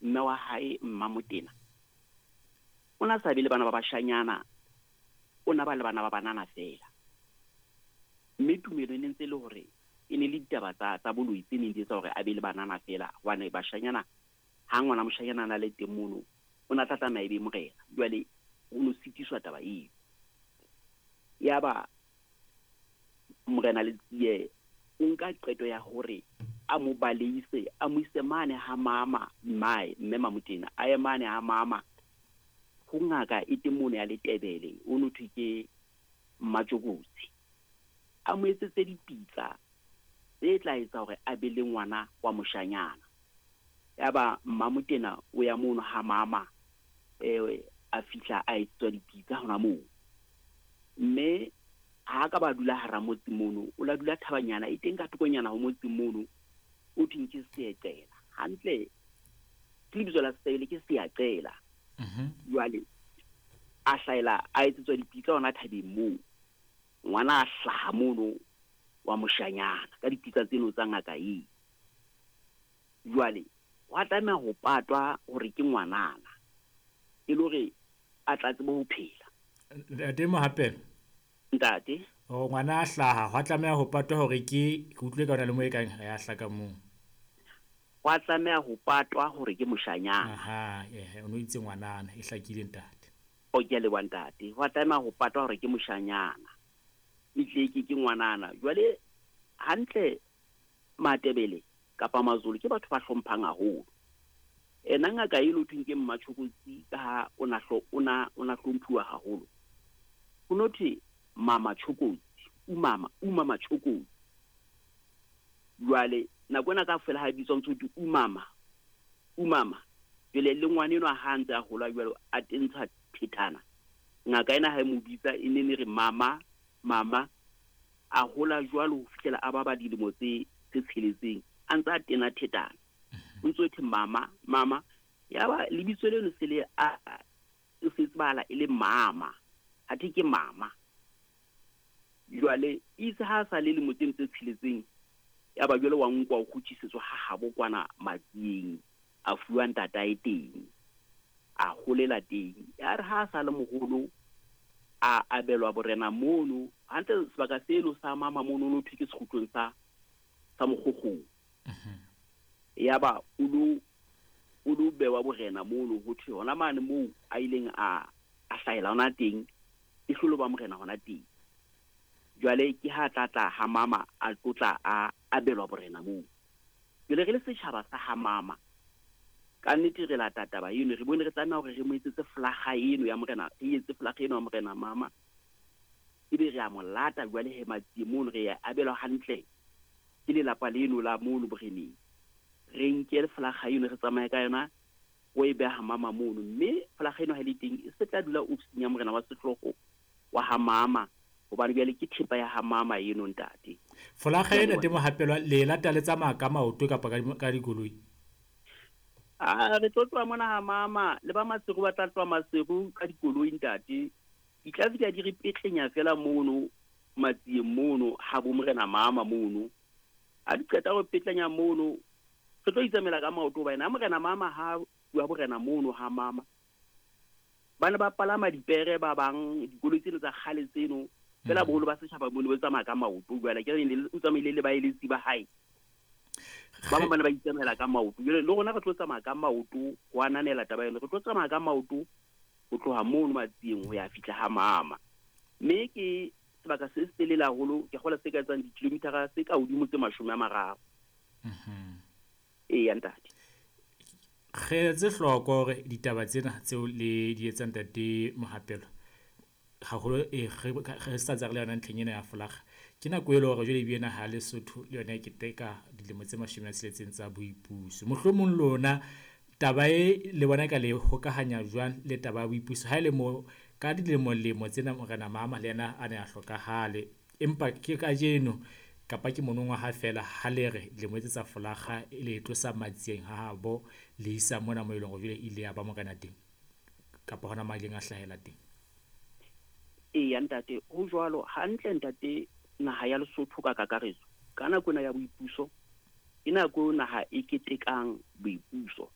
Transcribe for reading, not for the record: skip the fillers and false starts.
Mme wa hae Mmamotena o na sa be le bana ba bashanyana, o na ba le bana ba banana feela. Mme tumelo e ne ntse e le hore e ne le ditaba tsa boloi tse neng di etsa hore a be le banana feela, hobane bashanyana, ha ngwana moshanyana a na le teng mono, o na tla tlameha e be morena. Jwale o no sitiswa taba eo. Yaba Morena Letsie o nka qeto ya hore a mo baleise, a mo ise mane ha mama mmae, mme Mamotena, a ye mane ha mama ho ngaka e teng mono ya Letebele, o no thwe ke Mmatjokotsi, a mo etsetse dipitsa tse tla etsa hore a be le ngwana wa moshanyana. Yaba Mmamotena o ya mono ha mama, a fihla a etsetswa dipitsa hona moo. Mme ha ka ba dula hara motse mono, o la dula thabanyana e teng ka thokonyana ho motse mono, o thweng ke Seeqela. Hantle ke lebitso la Setebele, ke Seaqela. Jwale a hlahela a etsetswa dipitsa hona thabeng moo. Ngwana a hlaha mono wa moshanyana ka dipitsa tseno tsa ngaka eo. Jwale hwa tlameha ho patwa hore ke ngwanana, e le hore a tla tsebe ho phela. Ntate Mohapelo. Ntate. O ngwana a hlaha, hwa tlameha ho patwa hore ke utlwe ka hona le mo e kang ya hlaka moo. Hwa tlameha ho patwa hore ke moshanyana. Aha, o no itse ngwanana, e hlakile ntate. O ke a leboha ntate. Hwa tlameha ho patwa hore ke moshanyana. E tle ke ngwanana. Jwale hantle Matebele kapa Mazulu ke batho ba hlomphang haholo. Ena ngaka e lo thweng ke Mmatjhokotsi ka ha o na hlo, o na, o na hlomphuwa haholo. Ho no thwe Mama Tjhokotsi, umama, umama Tjhokotsi. Jwale nako ena kaofela ha e bitswa ntse ho thwe umama, umama. Jwale le ngwana enwa ha ntse a hola jwalo a tentsha thethana. Ngaka ena ha e mo bitsa e ne ne re mama, mama. A hola jwalo ho fihlela a ba ba dilemo tse tsheletseng a ntse a tena thetana. O ntse o thwe mama, mama. Yaba lebitso leno se le a se tsebahala e le mama. Athe ke mama. Jwale itse ha sa le lemo tseno tse tsheletseng, yaba jwale wa nkwa o kgutlisetswa ha habo kwana Matsieng, a fuwa ntatae teng, a holela teng. Ya re ha sa le moholo a abelwa borena mono, hantle sebaka seno sa mama mono no thwe ke sekgutlong sa Mokgokgong. Yaba o lo bewa borena mono, ho thwe hona mane moo a ileng a hlahela hona teng, e hlolo ba morena hona teng. Jwale ke ha tla tla ha mama a tlotla a abelwa borena moo. Jwale re le setjhaba sa ha mama, ka nnete re lata taba eno, re bone re tlameha hore re mo etsetse flaga eno ya morena, re etse flaga eno ya morena mama. Ebe re a mo lata jwale he Matsie mono, re ya abelwa hantle ke lelapa leno la mono boreneng. Re nke flaga eno re tsamaye ka yona o e beha mama mono, mme flaga eno ha le teng e se tla dula ofising ya morena wa sehlooho wa ha mama, hobane jwale ke thepa ya ha mama eno ntate. Folaga ena temo hapelwa le lata le tsamaya ka maoto kapa ka dikoloi? A re tlo tloha mona ha mama, le ba Maseru ba tla tloha Maseru ka dikoloi ntate. Di tla fihla di re petlenya fela mono Matsieng mono ha bo morena mama mono. Ha di qeta ho petlenya mono, re tlo itsamela ka maoto hobane ha morena mama ha bua borena mono ha mama, ba ne ba palama dipere ba bang, dikoloi tseno tsa kgale tseno, fela boholo ba setjhaba bo ne bo tsamaya ka maoto. Jwale ke re o tsamaile le baeletsi ba hae, ba bang ba ne ba itsamaela ka maoto. Jwale le rona re tlo tsamaya ka maoto ho ananela taba eno, re tlo tsamaya ka maoto ho tloha mono Matsieng ho ya fihla ha mama. Mme ke sebaka se setelele haholo, ke kgola se ka etsang dikilomitara tse ka hodimo tse 30. Eya ntate. Re etse hloko hore ditaba tsena tseo le di etsang ntate Mohapelo, haholo re sa tsa re le yona ntlheng ena ya folaga, ke nako e le hore jwale ebile naha ya Lesotho le yona e keteka dilemo tse 60 tsa boipuso. Mohlomong lona taba e le bona ka le hokahanya jwang le taba ya boipuso, ha e le mo ka dilemo-lemo tsena morena mama le yena a ne a hlokahale, empa ke kajeno kapa ke monongwaha fela ha le re dilemo tse tsa folaga e le tlosa Matsieng ha habo le isa mona mo e leng hore jwale ile ya ba morena teng kapa hona mo a ileng a hlahela teng? Eya ntate, ho jwalo hantle ntate. Naha ya Lesotho ka kakaretso ka nako ena ya boipuso ke nako eo naha e ketekang boipuso.